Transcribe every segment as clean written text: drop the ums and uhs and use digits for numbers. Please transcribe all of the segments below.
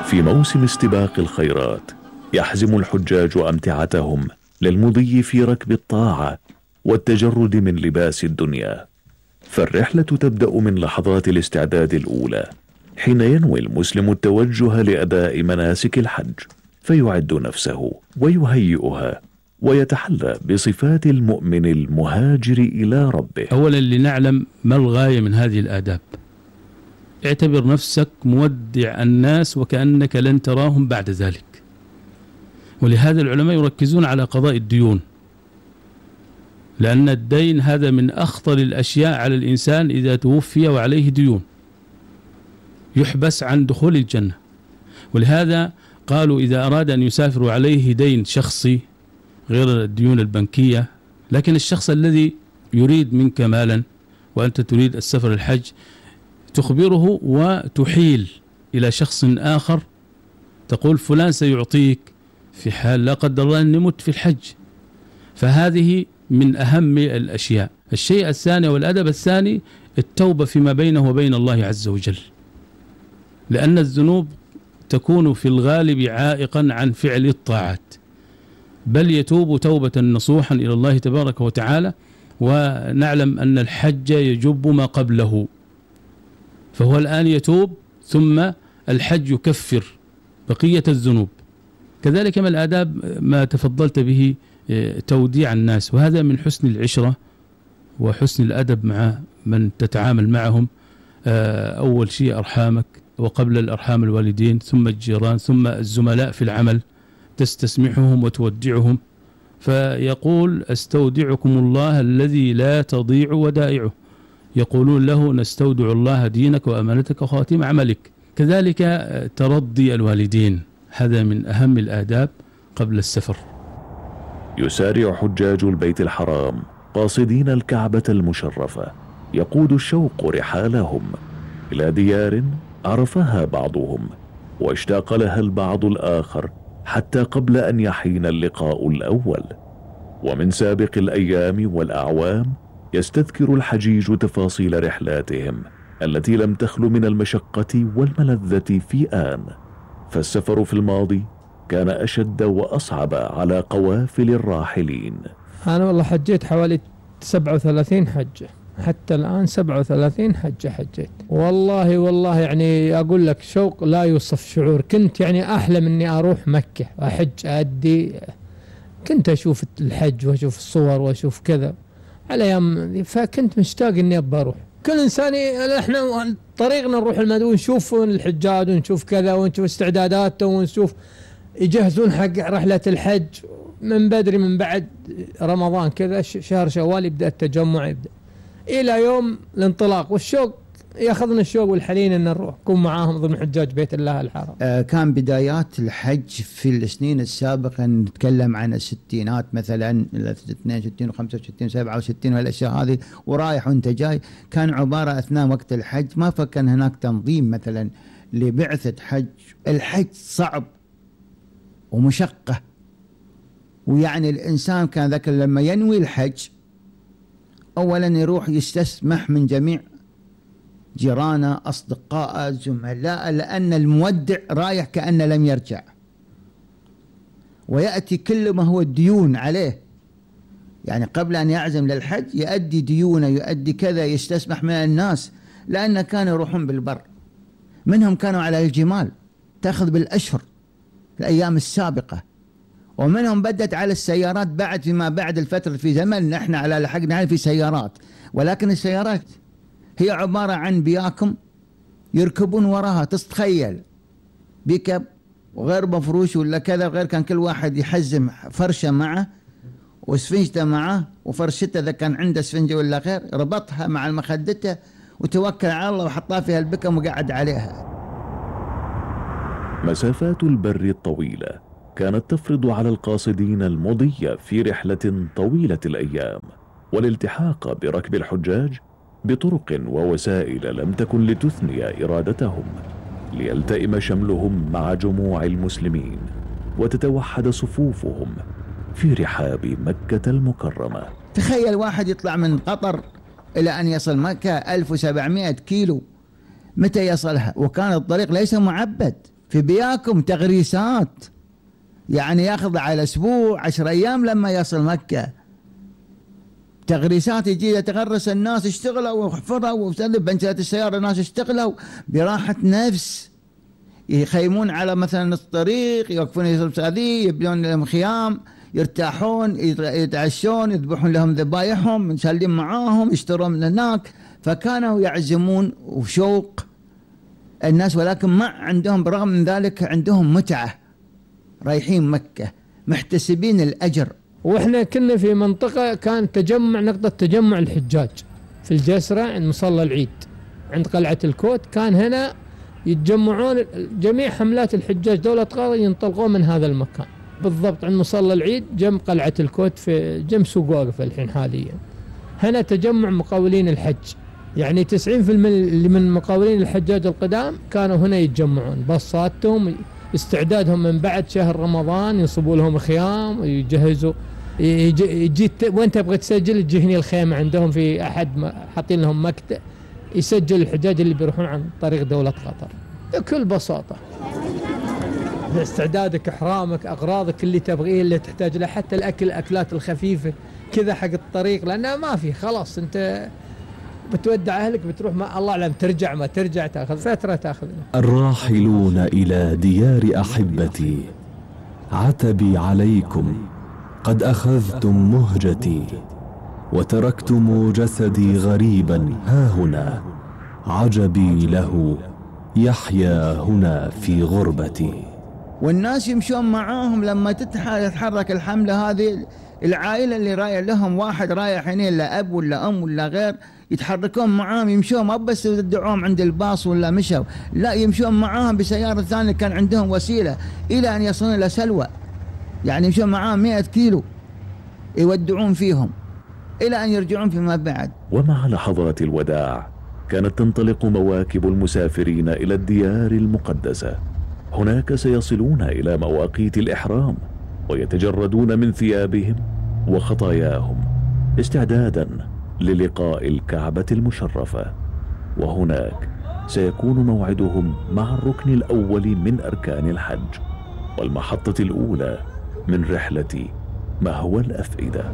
في موسم استباق الخيرات يحزم الحجاج أمتعتهم للمضي في ركب الطاعة والتجرد من لباس الدنيا. فالرحلة تبدأ من لحظات الاستعداد الأولى حين ينوي المسلم التوجه لأداء مناسك الحج، فيعد نفسه ويهيئها ويتحلى بصفات المؤمن المهاجر إلى ربه. أولا لنعلم ما الغاية من هذه الآداب. اعتبر نفسك مودع الناس وكأنك لن تراهم بعد ذلك، ولهذا العلماء يركزون على قضاء الديون، لأن الدين هذا من أخطر الأشياء على الإنسان. إذا توفي وعليه ديون يحبس عن دخول الجنة، ولهذا قالوا إذا أراد أن يسافر وعليه دين شخصي غير الديون البنكية، لكن الشخص الذي يريد منك مالا وأنت تريد السفر الحج تخبره وتحيل إلى شخص آخر، تقول فلان سيعطيك في حال لا قدر الله أن نمت في الحج. فهذه من أهم الأشياء. الشيء الثاني والأدب الثاني التوبة فيما بينه وبين الله عز وجل، لأن الذنوب تكون في الغالب عائقا عن فعل الطاعات، بل يتوب توبة نصوحا إلى الله تبارك وتعالى. ونعلم أن الحج يجب ما قبله، فهو الآن يتوب ثم الحج يكفر بقية الذنوب. كذلك من الآداب ما تفضلت به توديع الناس، وهذا من حسن العشرة وحسن الأدب مع من تتعامل معهم. أول شيء أرحامك، وقبل الأرحام الوالدين، ثم الجيران، ثم الزملاء في العمل، تستسمحهم وتودعهم. فيقول استودعكم الله الذي لا تضيع ودائعه، يقولون له نستودع الله دينك وأمانتك وخواتيم عملك. كذلك ترضي الوالدين، هذا من أهم الآداب قبل السفر. يسارع حجاج البيت الحرام قاصدين الكعبة المشرفة يقود الشوق رحالهم إلى ديار عرفها بعضهم واشتاق لها البعض الآخر حتى قبل أن يحين اللقاء الأول. ومن سابق الأيام والأعوام يستذكر الحجيج تفاصيل رحلاتهم التي لم تخل من المشقة والملذة في آن. فالسفر في الماضي كان أشد وأصعب على قوافل الراحلين. أنا والله حجيت حوالي 37 حجة، حتى الآن 37 حجة حجيت. والله يعني أقول لك شوق لا يوصف شعور. كنت يعني أحلم أني أروح مكة وأحج أدي، كنت أشوف الحج وأشوف الصور وأشوف كذا على أيام، فكنت مشتاق أني أبى أروح. كل إنسان إحنا طريقنا نروح المدينة ونشوف الحجاج ونشوف كذا ونشوف استعداداتهم ونشوف يجهزون حق رحلة الحج من بدري، من بعد رمضان كذا شهر شوال يبدأ التجمع، يبدأ إلى يوم الانطلاق، والشوق ياخذنا الشوق والحنين أن نروح نكون معاهم ضمن حجاج بيت الله الحرام. كان بدايات الحج في السنين السابقة، نتكلم عن الستينات مثلا 62 و65 67 والأشياء هذه، ورايح وانت جاي، كان عبارة أثناء وقت الحج ما فكان هناك تنظيم مثلا لبعثة حج. الحج صعب ومشقة، ويعني الإنسان كان ذاك لما ينوي الحج أولا يروح يستسمح من جميع جيرانه أصدقائه زملاء، لأن المودع رايح كأنه لم يرجع، ويأتي كل ما هو الديون عليه. يعني قبل أن يعزم للحج يؤدي ديونه، يؤدي كذا، يستسمح من الناس، لأن كانوا يروحون بالبر، منهم كانوا على الجمال تأخذ بالأشهر الأيام السابقة، ومنهم بدت على السيارات بعد فيما بعد الفترة في زمن نحن على لحقنا في سيارات، ولكن السيارات هي عبارة عن بياكم يركبون وراها، تتخيل بيكب وغير مفروش ولا كذا غير، كان كل واحد يحزم فرشة معه وسفنجته معه، وفرشته إذا كان عنده سفنجة ولا غير ربطها مع المخدته وتوكل على الله وحطها فيها البكم وقعد عليها. مسافات البر الطويلة كانت تفرض على القاصدين المضي في رحلة طويلة الأيام والالتحاق بركب الحجاج بطرق ووسائل لم تكن لتثني إرادتهم، ليلتئم شملهم مع جموع المسلمين وتتوحد صفوفهم في رحاب مكة المكرمة. تخيل واحد يطلع من قطر إلى أن يصل مكة 1700 كيلو، متى يصلها؟ وكان الطريق ليس معبد، في بياكم تغريسات، يعني ياخذ على أسبوع 10 أيام لما يصل مكة، تغريسات يجي يتغرس الناس، اشتغلوا وحفروا وسلب بنشات السيارة، الناس اشتغلوا براحة نفس، يخيمون على مثلا الطريق، يوقفون هذه، يبنون لهم خيام، يرتاحون، يتعشون، يذبحون لهم ذبايحهم، نسلم معاهم، يشترون من هناك. فكانوا يعزمون وشوق الناس، ولكن ما عندهم برغم من ذلك عندهم متعة، رايحين مكة محتسبين الأجر. واحنا كنا في منطقة كان تجمع، نقطة تجمع الحجاج في الجسرة عند مصلى العيد عند قلعة الكوت، كان هنا يتجمعون جميع حملات الحجاج دولة قطر ينطلقون من هذا المكان بالضبط عند مصلى العيد جنب قلعة الكوت في جنب سوق واقف الحين حاليا. هنا تجمع مقاولين الحج، يعني 90% اللي من مقاولين الحجاج القدام كانوا هنا يتجمعون، بصاتهم استعدادهم من بعد شهر رمضان ينصبوا لهم خيام ويجهزوا، يجي وين تبغى تسجل تجي هنا الخيمة عندهم في أحد حاطين لهم مكتب يسجل الحجاج اللي بيروحون عن طريق دولة قطر بكل بساطة. استعدادك، إحرامك، أغراضك اللي تبغيه اللي تحتاج له، حتى الأكلات الخفيفة كذا حق الطريق، لأنها ما في خلاص أنت بتودع أهلك بتروح، ما الله أعلم ترجع ما ترجع، تأخذ فترة تأخذ. الراحلون إلى ديار أحبتي، عتبي عليكم، قد أخذتم مهجتي، وتركتم جسدي غريبا ها هنا، عجبي له يحيا هنا في غربتي. والناس يمشون معاهم لما تتحرك الحملة هذه، العائلة اللي رايح لهم واحد رايح هنا لا أب ولا أم ولا غير، يتحركون معاهم يمشون، ما بس يدعوهم عند الباص ولا مشوا، لا يمشون معاهم بسيارة ثانية، كان عندهم وسيلة إلى أن يصلون إلى سلوى، يعني يمشون معاهم 100 كيلو يودعون فيهم إلى أن يرجعون فيما بعد. ومع لحظات الوداع كانت تنطلق مواكب المسافرين إلى الديار المقدسة. هناك سيصلون إلى مواقيت الإحرام ويتجردون من ثيابهم وخطاياهم استعدادا للقاء الكعبة المشرفة، وهناك سيكون موعدهم مع الركن الأول من أركان الحج والمحطة الأولى من رحلة مهوى الأفئدة.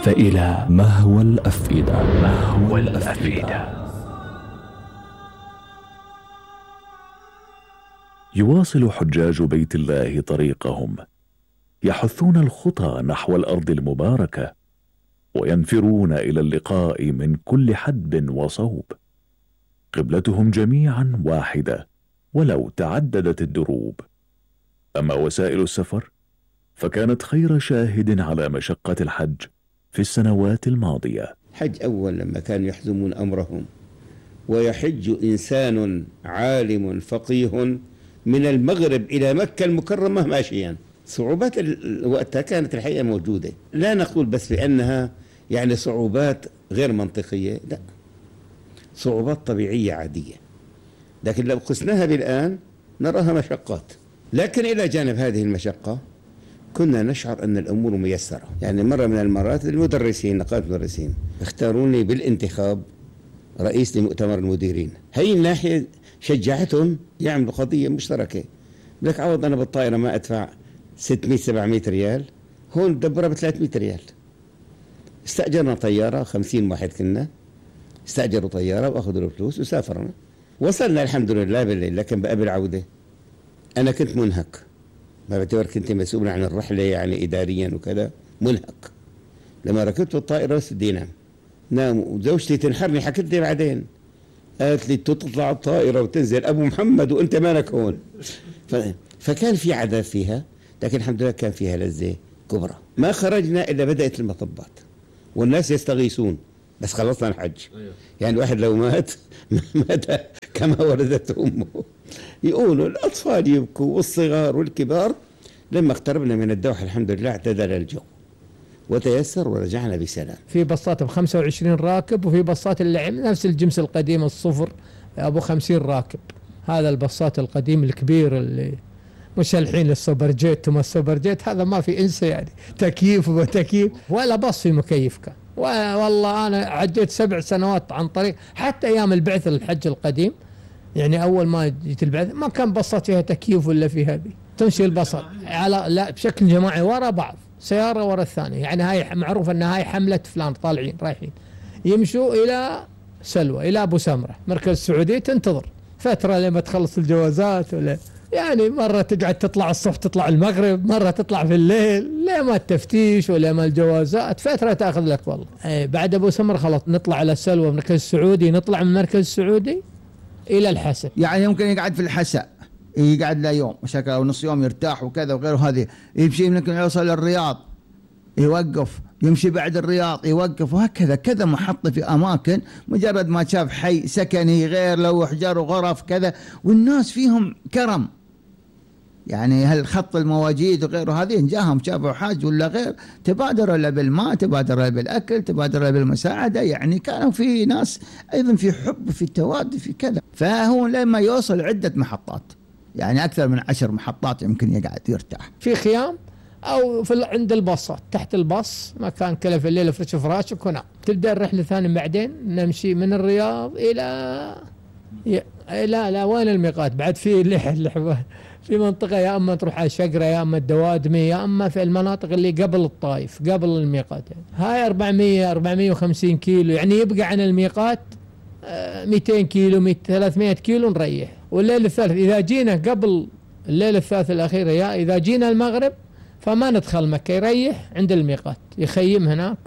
فإلى مهوى الأفئدة. مهوى الأفئدة. يواصل حجاج بيت الله طريقهم، يحثون الخطى نحو الأرض المباركة، وينفرون إلى اللقاء من كل حدب وصوب. قبلتهم جميعا واحدة ولو تعددت الدروب. أما وسائل السفر فكانت خير شاهد على مشقة الحج في السنوات الماضية. حج أول لما كانوا يحزمون أمرهم، ويحج إنسان عالم فقيه من المغرب إلى مكة المكرمة ماشيا. صعوبات وقتها كانت الحقيقة موجودة، لا نقول بس بأنها يعني صعوبات غير منطقية، لا، صعوبات طبيعية عادية، لكن لو قسناها بالآن نراها مشقات. لكن إلى جانب هذه المشقة كنا نشعر أن الأمور ميسرة. يعني مرة من المرات المدرسين، نقابة المدرسين، اختاروني بالانتخاب رئيس لمؤتمر المديرين. هي الناحية شجعتهم يعملوا قضية مشتركة، لك عوض أنا بالطائرة ما أدفع 600-700 ريال، هون دبرها ب300 ريال. استأجرنا طيارة، 50 واحد كنا، استأجروا طيارة وأخذوا الفلوس وسافرنا. وصلنا الحمد لله بالليل، لكن بقى بالعودة أنا كنت منهك، ما بعتبر كنت مسؤول عن الرحلة يعني إداريا وكذا، منهك. لما ركبت الطائرة بس بدي نام، وزوجتي تنحرني، حكيت لي بعدين، قالت لي تطلع الطائرة وتنزل أبو محمد وأنت مالك هون. فكان في عذاب فيها، لكن الحمد لله كان فيها لذة كبرى. ما خرجنا إلا بدأت المطبات والناس يستغيثون، بس خلصنا الحج. يعني الواحد لو مات كما ولدته أمه. يقولوا الأطفال يبكوا والصغار والكبار. لما اقتربنا من الدوحة الحمد لله اعتدل الجو وتيسر ورجعنا بسلام. في بساط ب25 راكب، وفي بساط اللي نفس الجنس القديم الصفر أبو 50 راكب. هذا البساط القديم الكبير اللي مش الحين السوبر جيت وما السوبر جيت، هذا ما في انسى يعني، تكييف وتكييف ولا بص في مكيف كان. والله انا عديت 7 سنوات عن طريق، حتى ايام البعث الحج القديم يعني اول ما جيت البعث ما كان بصات فيها تكييف ولا في هذه، تمشي البصل على لا بشكل جماعي ورا بعض، سياره ورا الثانيه، يعني هاي معروف ان هاي حمله فلان طالعين رايحين، يمشوا الى سلوى الى ابو سمره مركز السعوديه، تنتظر فتره لما تخلص الجوازات، ولا يعني مرة تقعد تطلع الصبح تطلع المغرب، مرة تطلع في الليل، لا ما التفتيش ولا ما الجوازات، فترة تأخذ لك والله. بعد أبو سمر خلاص نطلع على السلوى مركز السعودي، نطلع من المركز السعودي إلى الحسا، يعني يمكن يقعد في الحسا يقعد له يوم وشكل أو نص يوم يرتاح وكذا وغيره، هذه يمشي يمكن يوصل الرياض يوقف، يمشي بعد الرياض يوقف، وهكذا كذا محطة في أماكن، مجرد ما شاف حي سكني غير لو أحجار وغرف كذا، والناس فيهم كرم، يعني هالخط المواجيد وغيره هذه جاهم شافوا حاج ولا غير تبادروا له بالماء، تبادروا له بالأكل، تبادروا له بالمساعدة، يعني كانوا في ناس أيضا في حب في تواد في كذا. فهو لما يوصل عدة محطات، يعني أكثر من 10 محطات يمكن يقعد يرتاح في خيام أو في عند الباصات، تحت الباص مكان كله في الليل فرش فراشك ونام. تبدأ الرحلة الثانية بعدين نمشي من الرياض إلى لا وين الميقات بعد، في اللحظة في منطقة يا أما تروح على شقرة يا أما الدوادمي يا أما في المناطق اللي قبل الطائف قبل الميقات، يعني هاي 450 كيلو، يعني يبقى عن الميقات 200 كيلو 300 كيلو نريح. والليل الثالث إذا جينا قبل الليل الثالث الأخير يا إذا جينا المغرب فما ندخل مكة، يريح عند الميقات يخيم هناك،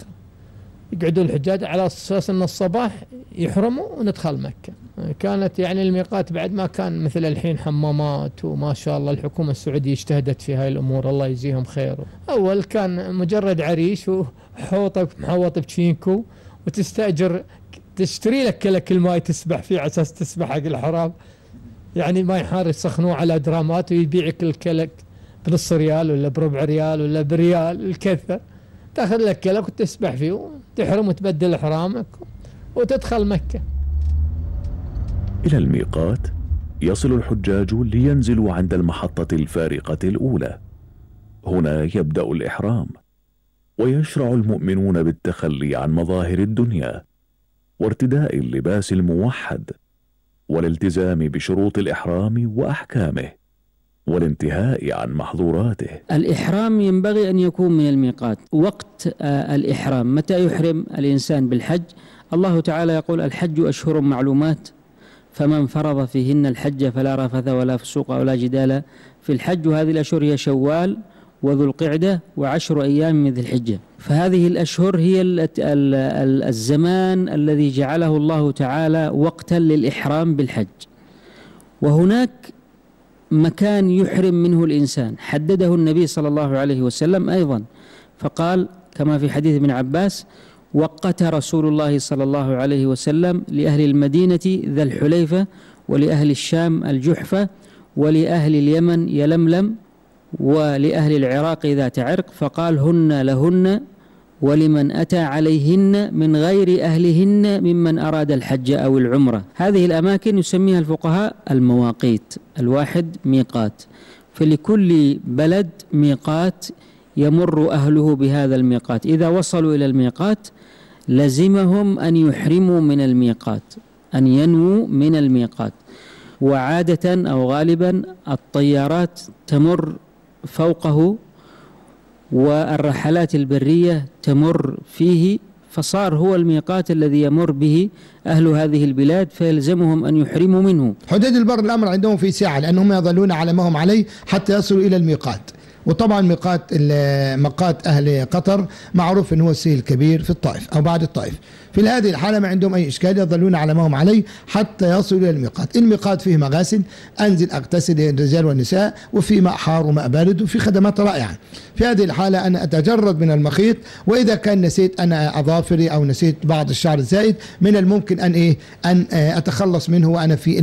يقعدوا الحجاج على أساس أن الصباح يحرموا وندخل مكة. كانت يعني الميقات بعد ما كان مثل الحين حمامات، وما شاء الله الحكومة السعودية اجتهدت في هاي الأمور الله يجزيهم خير. أول كان مجرد عريش وحوطة محوط بشينكو، وتستأجر تشتري لك كل ماي تسبح فيه على أساس تسبح حق الحرام، يعني ماي حار يسخنوه على درامات ويبيعك الكلك بنص ريال ولا بربع ريال ولا بريال الكثة، تاخذ لك كلك وتسبح فيه وتحرم وتبدل إحرامك وتدخل مكة. إلى الميقات يصل الحجاج لينزلوا عند المحطة الفارقة الأولى، هنا يبدأ الإحرام، ويشرع المؤمنون بالتخلي عن مظاهر الدنيا وارتداء اللباس الموحد والالتزام بشروط الإحرام وأحكامه والانتهاء عن محظوراته. الإحرام ينبغي أن يكون من الميقات. وقت الإحرام متى يحرم الإنسان بالحج؟ الله تعالى يقول الحج أشهر معلومات فمن فرض فيهن الحج فلا رفث ولا فسوق ولا جدال في الحج، وهذه الأشهر هي شوال وذو القعدة و10 أيام من ذي الحجة. فهذه الأشهر هي الزمان الذي جعله الله تعالى وقتا للإحرام بالحج. وهناك مكان يحرم منه الإنسان حدده النبي صلى الله عليه وسلم أيضا، فقال كما في حديث ابن عباس: وقت رسول الله صلى الله عليه وسلم لأهل المدينة ذا الحليفة، ولأهل الشام الجحفة، ولأهل اليمن يلملم، ولأهل العراق ذات عرق، فقال: هن لهن ولمن أتى عليهن من غير أهلهن ممن أراد الحج أو العمرة. هذه الأماكن يسميها الفقهاء المواقيت، الواحد ميقات، فلكل بلد ميقات يمر أهله بهذا الميقات. إذا وصلوا إلى الميقات لزمهم أن يحرموا من الميقات، أن ينووا من الميقات. وعادة أو غالبا الطيارات تمر فوقه والرحلات البرية تمر فيه، فصار هو الميقات الذي يمر به أهل هذه البلاد، فيلزمهم أن يحرموا منه. حدود البر الأمر عندهم في ساعة، لأنهم يظلون على ما هم عليه حتى يصلوا إلى الميقات. وطبعا ميقات أهل قطر معروف أنه هو السيل الكبير في الطائف أو بعد الطائف. في هذه الحالة ما عندهم أي إشكال، يظلون على ما هم عليه حتى يصلوا إلى الميقات. الميقات فيه مغاسل، أنزل أغتسل الرجال والنساء، وفي ماء حار وماء بارد، وفي خدمات رائعة. في هذه الحالة أنا أتجرد من المخيط، وإذا كان نسيت أنا أظافري أو نسيت بعض الشعر الزائد من الممكن أن أتخلص منه وأنا في